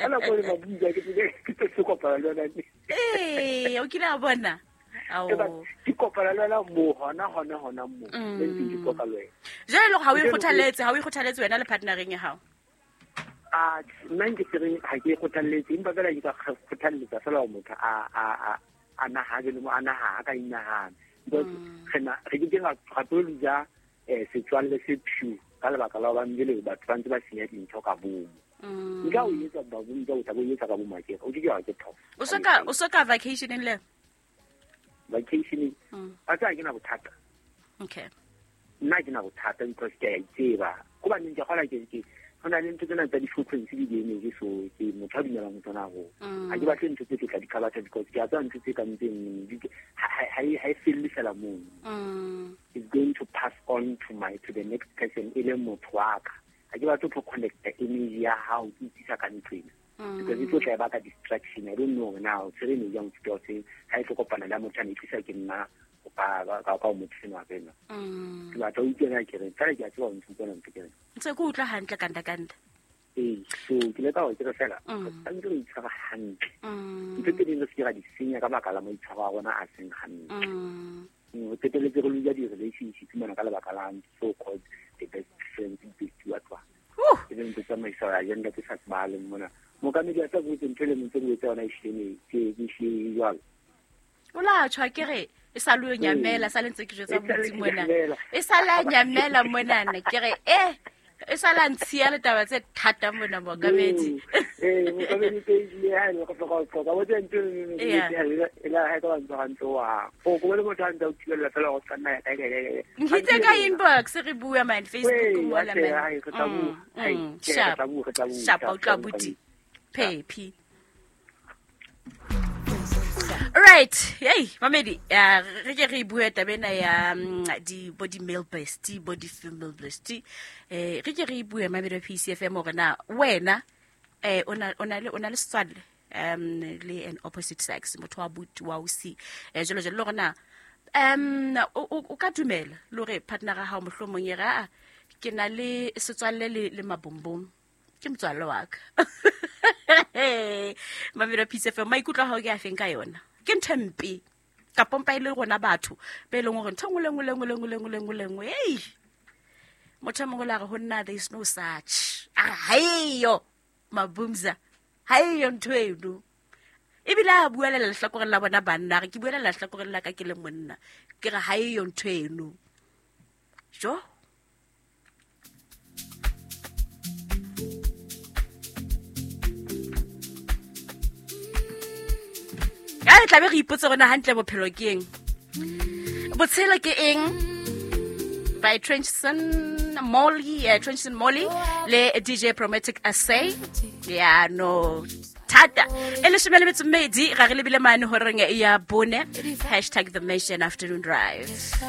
Ka nako e mabuza ke ke se kopana le yona. Ee, o kile a bona. Ke kopana le wena mo hona hona hona mo. Le ntse ke qoqa le wena. Jwale le ha o ikgothaletse, ha o ikgothaletse wena le partnereng ya hao. A nna nke ke re ha ke ikgothaletse, empa fela ke ka kgothalletsa fela gore motho a a a a nahane le mo a nahana ka inahana. Because re na re ke ke ra tlo ja setswalle se pure ka lebaka la hobane jwale batho ba ntse ba senya dintho ka bomo. Nka o etsa ba bo ntse o tla bo etsa ka bomo akere o ke ke wa ke phoso. O soka o soka vacationeng le? Vacationeng. A tsa ke na bothata. Okay. Nna ke na bothata because ke a itseba. Go ba neng ke gola ke ke go na le ntho tsena tsa di-frequency di di-energy, so ke motho a dumelang ho tsona haholo. Ha ke batle ntho tse ke tla di khabatha because ke a tseba ntho tse kang tseno ha e felle fela mono. It's going to pass on to my to the next person e leng motho wa ka. Ha ke batle ho connecta energy ya hao ke itsisa ka ntlo ena. Because e tlo tla e baka distraction. I don't know now tshwere energy ya mofuta o seng ha e tlo kopana le ya motho a ne e tlisa ke nna ka ka motho seno wa ena. Ke batla o utlwe ke re fela ke a tseba o ntse utlwana ntse ke re. Ntse ke utlwa hantle kanta kanta. Ee, so ke leka hore ke re fela re tshwanetse re itshwara hantle. Ntho tse ding re se ke ra di senya ka baka la maitshwaro a rona a seng hantle. Re qetelletse re lose di-relationship mona ka lebaka la so called the best friends, best what what. E leng ntho tsamaisa agenda tse sa tsebahaleng mona. Mookamedi a tla botse ntho e le ntse botse yona e hlile ke ke hlile jwalo. O la tjho ke re e sa le o nyamela sa le ntse ke jwetsa botsi mona. E sa la nyamela mona ke re e sa la ntshiya le taba tse thata mona mookamedi. Mookamedi ke ile ha le go tloga tloga bo tse ntse e la ha ka ba ntse gantse wa. Go go le motho a ntse o thibella fela go tsanna ya kae kae. Nkitse ka inbox re bua man Facebook mola man. Sharp. Sharp o tla buti. Phephi. Right, hey, mamedi, re ke re bue taba ena ya di bo di male bestie, bo di female bestie. Re ke re bue mamedi wa PCFM hore na wena o na le setswalle le an opposite sex, motho wa buti wa ausi, jalo jalo, le hore na o ka dumela le hore partner ya hao mohlomong e re a ke na le setswalle le mabombong, ke motswalle wa ka. Mamedi wa PCFM, maikutlo a hao ke a feng ka yona? Ke ntho e mpe ka pompa e le rona batho be leng hore ntho nngwe le nngwe le nngwe le nngwe le nngwe le nngwe le nngwe, ei motho e mongwe le a re ho nna there is no such, a re haeyo mabumza, haeyo ntho eno. Ebile a buelela lehlakoreng la bona banna, a re ke buelela lehlakoreng la ka ke le monna, ke re haeyo ntho eno. Jo ya re tlabe re ipotse rona hantle bophelo ke eng, botshelo ke eng, by Trenchson Molly, Trenchson Molly le DJ Promatic Assay. Ya no thata e leshome le metso mmedi ga re lebile mane horeng ya bone, hashtag the Mission Afternoon Drive.